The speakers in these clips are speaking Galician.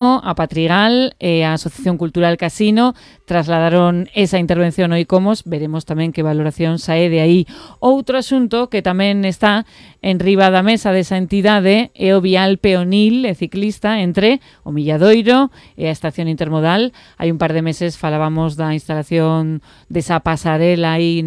a Patrigal e a Asociación Cultural Casino trasladaron esa intervención ao ICOMOS. Veremos tamén que valoración sae de aí. Outro asunto que tamén está en riba da mesa desa entidade é o vial peonil e ciclista entre o Milladoiro e a estación intermodal. Hai un par de meses falábamos da instalación desa pasarela aí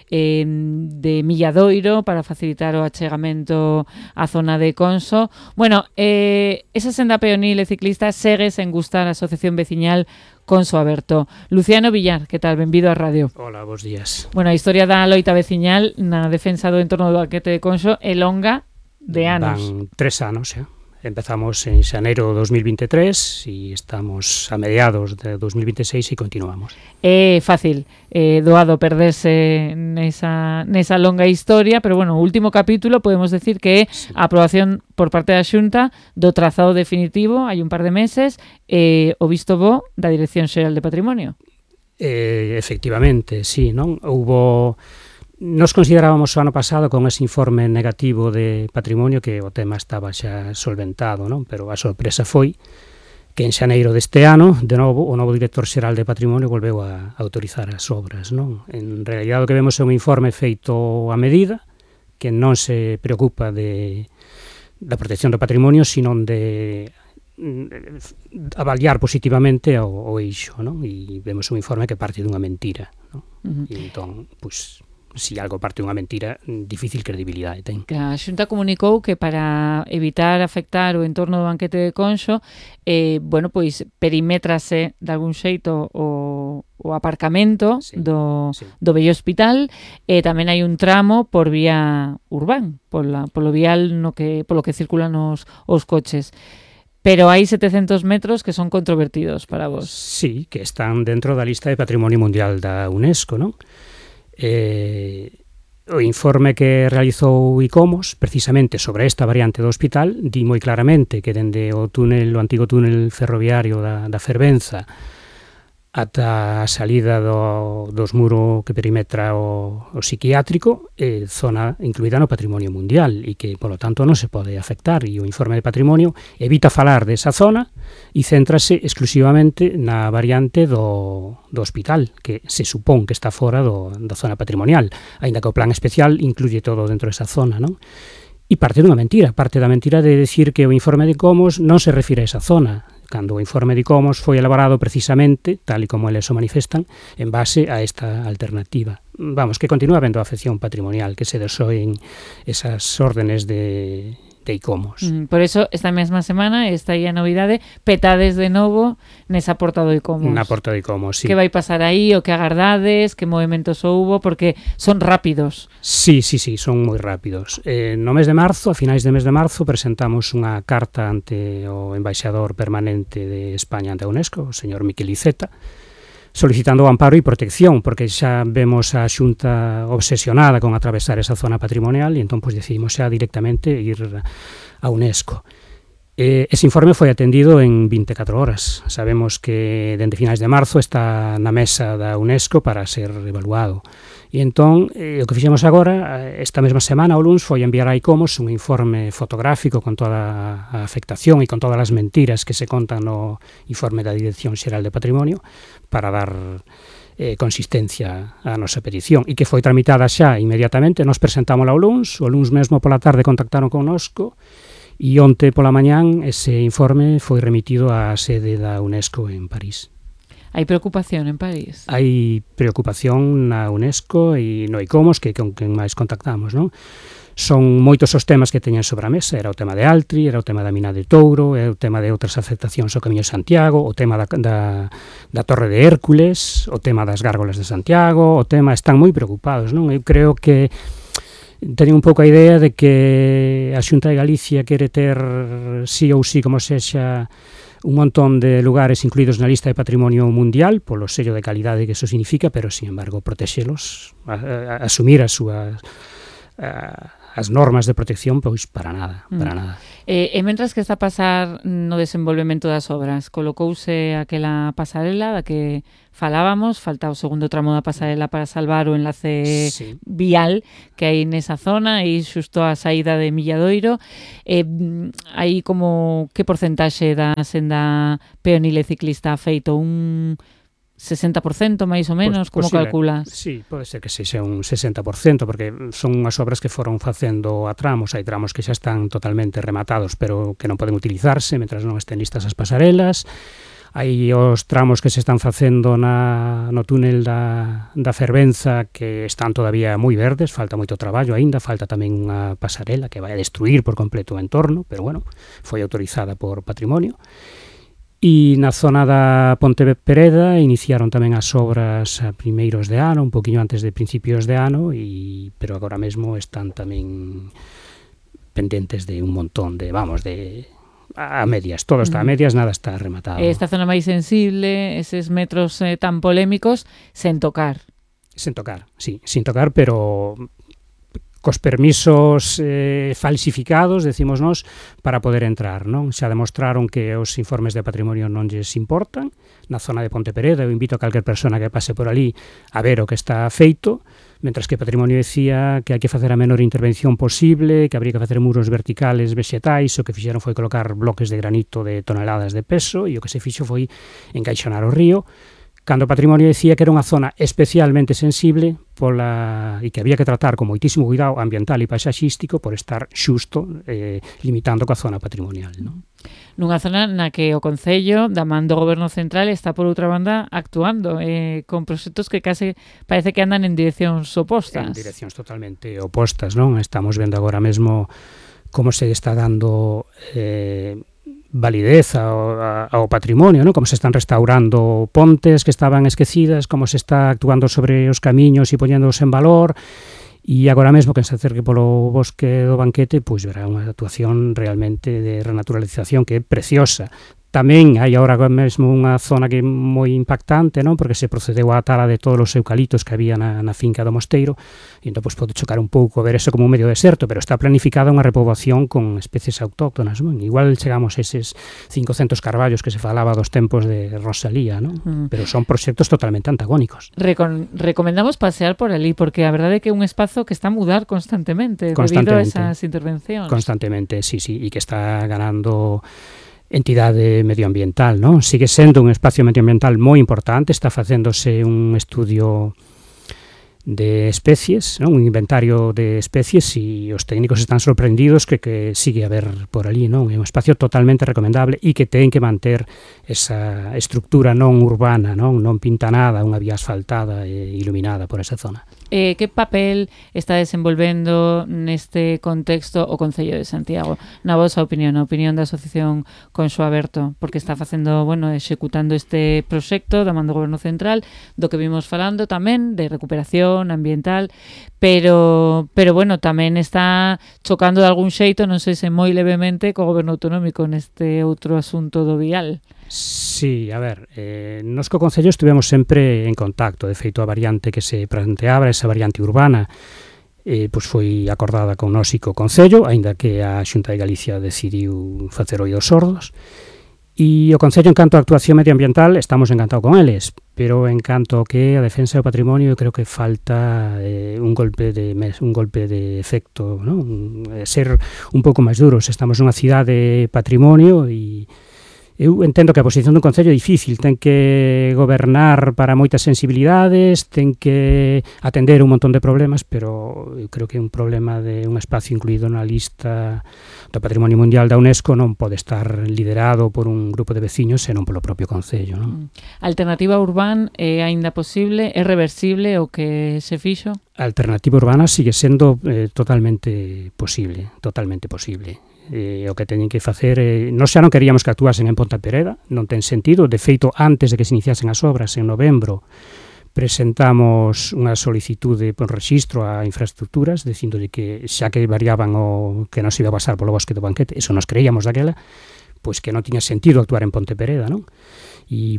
de Milladoiro para facilitar o achegamento á zona de Conso. Bueno, esa senda peonil e ciclista segue sen gustar a Asociación Veciñal Conso Aberto. Luciano Villar, que tal? Benvido á radio. Hola, bons días. Bueno, a historia da loita veciñal na defensa do entorno do banquete de Conso é longa de anos. Van 3 anos, xa. Empezamos en xaneiro de 2023 e estamos a mediados de 2026 e continuamos. É fácil, doado perderse nesa longa historia, pero bueno, o último capítulo podemos decir que é a aprobación por parte da Xunta do trazado definitivo hai un par de meses e o visto bo da Dirección Xeral de Patrimonio. Efectivamente, sí, non? Nos considerábamos o ano pasado con ese informe negativo de patrimonio que o tema estaba xa solventado, non? Pero a sorpresa foi que en xaneiro deste ano, de novo, o novo director xeral de patrimonio volveu a autorizar as obras, non? En realidad o que vemos é un informe feito a medida, que non se preocupa da protección do patrimonio, sino de avaliar positivamente o eixo, non? E vemos un informe que parte dunha mentira, non? E entón, pois, si algo parte dunha mentira, difícil credibilidade ten. A Xunta comunicou que para evitar afectar o entorno do banquete de Conso, pois perimétrase de algún xeito o aparcamento do vello hospital, e tamén hai un tramo por vía urbán, polo vial polo que circulan os coches. Pero hai 700 metros que son controvertidos para vos. Sí, que están dentro da lista de Patrimonio Mundial da UNESCO, non? O informe que realizou ICOMOS precisamente sobre esta variante do hospital di moi claramente que dende o antigo túnel ferroviario da Fervenza ata a salida dos muros que perimetra o psiquiátrico, zona incluída no Patrimonio Mundial e que, polo tanto, non se pode afectar, e o informe de patrimonio evita falar desa zona e céntrase exclusivamente na variante do hospital, que se supón que está fora da zona patrimonial, aínda que o plan especial incluye todo dentro desa zona, non? E parte da mentira de decir que o informe de ICOMOS non se refire a esa zona, cando o informe de ICOMOS foi elaborado precisamente, tal e como eles o manifestan, en base a esta alternativa. Vamos, que continúa habendo afección patrimonial, que se desoen esas órdenes de ICOMOS. Por eso, esta mesma semana, está aí a novidade, petades de novo nesa porta do ICOMOS. Na porta do ICOMOS, sí. Que vai pasar aí, o que agardades, que movimentos houbo, porque son rápidos. Sí, son moi rápidos. No mes de marzo, a finais de mes de marzo, presentamos unha carta ante o embaixador permanente de España ante a UNESCO, o señor Miquel Iceta, solicitando amparo e protección, porque xa vemos a Xunta obsesionada con atravesar esa zona patrimonial e entón decidimos xa directamente ir a UNESCO. Ese informe foi atendido en 24 horas. Sabemos que dende finais de marzo está na mesa da UNESCO para ser evaluado. E entón, o que fixemos agora, esta mesma semana, o luns, foi enviar a ICOMOS un informe fotográfico con toda a afectación e con todas as mentiras que se contan no informe da Dirección Xeral de Patrimonio para dar consistencia á nosa petición, e que foi tramitada xa inmediatamente. Nos presentámola o luns mesmo pola tarde contactaron connosco, e onte pola mañán ese informe foi remitido á sede da UNESCO en París. Hai preocupación en París? Hai preocupación na UNESCO e no ICOMOS, que con quen máis contactamos, non? Son moitos os temas que teñen sobre a mesa. Era o tema de Altri, era o tema da mina de Touro, era o tema de outras afectacións ao Camiño de Santiago, o tema da Torre de Hércules, o tema das gárgolas de Santiago, están moi preocupados, non? Eu creo que teñen un pouco a idea de que a Xunta de Galicia quere ter sí ou sí, como sexa, un montón de lugares incluídos na lista de Patrimonio Mundial polo sello de calidade que eso significa, pero, sin embargo, protexelos, asumir a as normas de protección, pois para nada, para nada. E mentras que está a pasar no desenvolvemento das obras, colocouse aquela pasarela da que falábamos, falta o segundo tramo da pasarela para salvar o enlace vial que hai nesa zona e xusto a saída de Milladoiro. Aí como que porcentaxe da senda peonil e ciclista ha feito? Un 60% máis ou menos, como calculas? Sí, pode ser que sexa un 60%, porque son unhas obras que foron facendo a tramos, hai tramos que xa están totalmente rematados, pero que non poden utilizarse mentras non estén listas as pasarelas. Hai os tramos que se están facendo no túnel da Fervenza que están todavía moi verdes, falta moito traballo aínda, falta tamén unha pasarela que vai a destruir por completo o entorno, pero bueno, foi autorizada por Patrimonio. E na zona da Ponte Pereda iniciaron tamén as obras a primeiros de ano, un poquinho antes de principios de ano, pero agora mesmo están tamén pendentes de un montón de, a medias, todo está a medias, nada está rematado. Esta zona máis sensible, eses metros tan polémicos, sen tocar. Sen tocar, sí, sin tocar, pero cos permisos falsificados, decimos nós, para poder entrar, non? Xa demostraron que os informes de Patrimonio non lles importan. Na zona de Ponte Pereda, eu invito a calquer persona que pase por ali a ver o que está feito, mentras que Patrimonio decía que hai que facer a menor intervención posible, que habría que facer muros verticales vexetais, o que fixeron foi colocar bloques de granito de toneladas de peso, e o que se fixo foi encaixonar o río, cando o Patrimonio decía que era unha zona especialmente sensible e que había que tratar con moitísimo cuidado ambiental e paisaxístico por estar xusto limitando coa zona patrimonial, non? Nunha zona na que o Concello, da man do Goberno Central, está por outra banda actuando con proxectos que case parece que andan en direccións opostas. En direccións totalmente opostas, non? Estamos vendo agora mesmo como se está dando validez ao patrimonio, ¿no? Como se están restaurando pontes que estaban esquecidas, como se está actuando sobre os camiños e poñéndoos en valor, e agora mesmo que se acerque polo bosque do Banquete, pois verá unha actuación realmente de renaturalización que é preciosa. Tamén hai agora mesmo unha zona que é moi impactante, non? Porque se procedeu á tala de todos os eucaliptos que había na finca do Mosteiro, e entón pois, pode chocar un pouco ver eso como un medio deserto, pero está planificada unha repoboación con especies autóctonas, non? Igual chegamos a eses 500 carballos que se falaba dos tempos de Rosalía, non? Pero son proxectos totalmente antagónicos. Recomendamos pasear por ali, porque a verdade é que é un espazo que está a mudar constantemente debido a esas intervencións. Constantemente, sí, e que está ganando entidade medioambiental, non? Sigue sendo un espacio medioambiental moi importante, está facéndose un estudio de especies, non? Un inventario de especies, e os técnicos están sorprendidos que sigue a haber por ali, non? É un espacio totalmente recomendable e que ten que manter esa estructura non urbana, non pintanada, unha vía asfaltada e iluminada por esa zona. Que papel está desenvolvendo neste contexto o Concello de Santiago? Na vosa opinión, a opinión da Asociación Conxo Aberto, porque está facendo, executando este proxecto da man do Goberno Central, do que vimos falando tamén, de recuperación ambiental, pero tamén está chocando de algún xeito, non sei se moi levemente, co Goberno Autonómico neste outro asunto do vial. Sí, a ver, nos co Concello estivemos sempre en contacto. De feito, a variante que se planteaba, esa variante urbana, pois foi acordada con nós e co Concello, aínda que a Xunta de Galicia decidiu facer oídos sordos. E o Concello, en canto a actuación medioambiental, estamos encantados con eles, pero en canto que a defensa do patrimonio, eu creo que falta un golpe de efecto, non? Ser un pouco máis duros. Estamos nunha cidade patrimonio e eu entendo que a posición dun Concello é difícil, ten que gobernar para moitas sensibilidades, ten que atender un montón de problemas, pero eu creo que un problema de un espacio incluído na lista do Patrimonio Mundial da UNESCO non pode estar liderado por un grupo de veciños senón polo propio Concello, non? A alternativa urbana é aínda posible, é reversible o que se fixo? A alternativa urbana sigue sendo totalmente posible, totalmente posible. O que teñen que facer nós xa non queríamos que actuasen en Ponte Pereda, non ten sentido. De feito, antes de que se iniciasen as obras en novembro presentamos unha solicitude por rexistro a infraestructuras dicindo que xa que variaban o que nos iba a pasar polo bosque do Banquete, eso nos creíamos daquela, pois que non tiña sentido actuar en Ponte Pereda, non? E,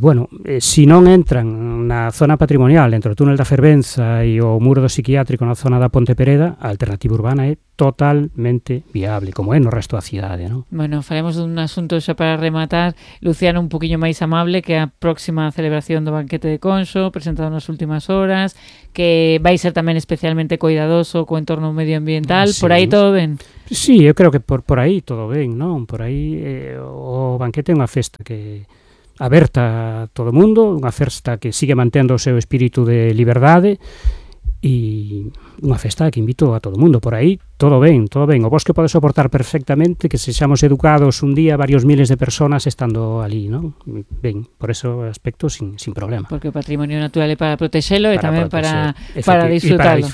se non entran na zona patrimonial entre o túnel da Fervenza e o muro do psiquiátrico na zona da Ponte Pereda, a alternativa urbana é totalmente viable, como é no resto da cidade, non? Bueno, faremos dun asunto xa para rematar, Luciano, un poquinho máis amable, que a próxima celebración do banquete de Conxo, presentado nas últimas horas, que vai ser tamén especialmente cuidadoso co entorno medioambiental. Sí. Por aí todo ben? Sí, eu creo que por aí todo ben, non? Por aí o banquete é unha festa que aberta a todo o mundo, unha festa que sigue mantendo o seu espírito de liberdade e unha festa que invito a todo o mundo. Por aí todo ben, todo ben. O bosque pode soportar perfectamente que sexamos educados un día varios miles de personas estando ali, non? Ben, por ese aspecto sin problema. Porque o patrimonio natural é para protexelo e tamén para disfrutarlo.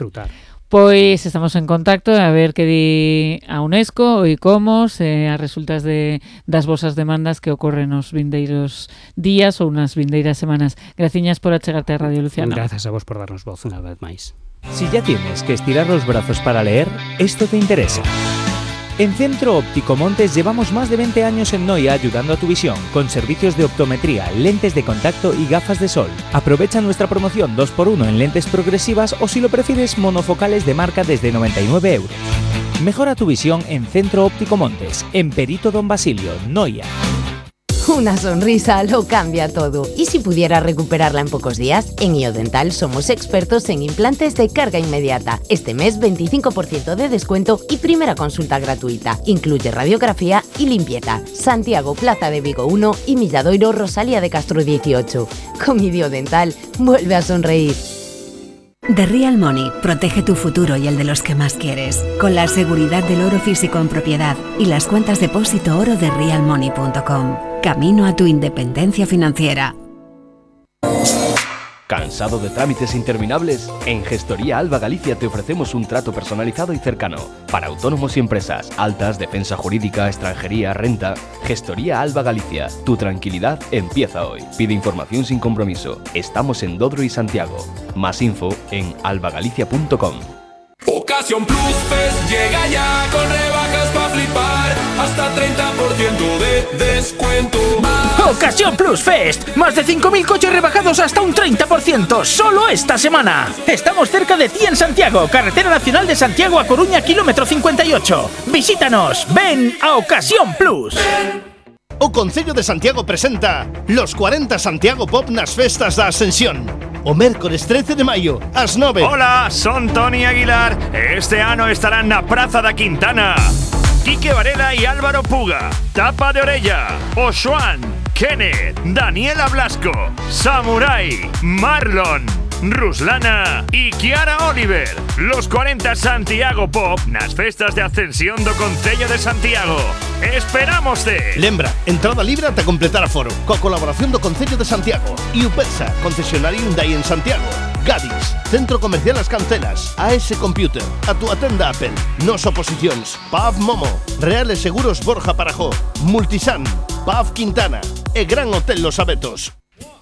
Pois estamos en contacto a ver que di a UNESCO, o ICOMOS, as resultas das vosas demandas que ocorren nos vindeiros días ou nas vindeiras semanas. Graciñas por achegarte a Radio Luciano. Gracias a vos por darnos voz unha vez máis. Si ya tienes que estirar los brazos para leer, esto te interesa. En Centro Óptico Montes llevamos más de 20 años en Noia ayudando a tu visión, con servicios de optometría, lentes de contacto y gafas de sol. Aprovecha nuestra promoción 2x1 en lentes progresivas o, si lo prefieres, monofocales de marca desde 99 euros. Mejora tu visión en Centro Óptico Montes, en Perito Don Basilio, Noia. Una sonrisa lo cambia todo. ¿Y si pudiera recuperarla en pocos días? En IoDental somos expertos en implantes de carga inmediata. Este mes 25% de descuento y primera consulta gratuita. Incluye radiografía y limpieza. Santiago, Plaza de Vigo 1 y Milladoiro, Rosalía de Castro 18. Con IoDental, vuelve a sonreír. The Real Money protege tu futuro y el de los que más quieres, con la seguridad del oro físico en propiedad y las cuentas depósito oro de realmoney.com. Camino a tu independencia financiera. ¿Cansado de trámites interminables? En Gestoría Alba Galicia te ofrecemos un trato personalizado y cercano para autónomos y empresas, altas, defensa jurídica, extranjería, renta. Gestoría Alba Galicia, tu tranquilidad empieza hoy. Pide información sin compromiso. Estamos en Dodro y Santiago. Más info en albagalicia.com. Ocasión Plus Fest llega ya con rebajas para flipar, hasta 30% de descuento. Ocasión Plus Fest, más de 5.000 coches rebajados hasta un 30%, solo esta semana. Estamos cerca de ti en Santiago, Carretera Nacional de Santiago a Coruña, kilómetro 58. Visítanos, ven a Ocasión Plus. O Concello de Santiago presenta los 40 Santiago Pop nas festas da Ascensión. O mércores 13 de maio, ás 9. Hola, son Tony Aguilar. Este ano estarán na Praza da Quintana Quique Varela e Álvaro Puga, Tapa de Orella, Oxuan, Kenneth, Daniela Blasco, Samurai, Marlon, Ruslana y Kiara Oliver. Los 40 Santiago Pop nas festas de Ascensión do Concello de Santiago. ¡Esperámoste! Lembra, entrada libre ata completar aforo, coa colaboración do Concello de Santiago e UPESA, concesionario Hyundai en Santiago. Gadis, Centro Comercial As Cancelas, AS Computer, a túa tenda Apple, Nos Oposicións, PAV Momo, Reales Seguros Borja Parajó, Multisan, PAV Quintana e Gran Hotel Los Abetos.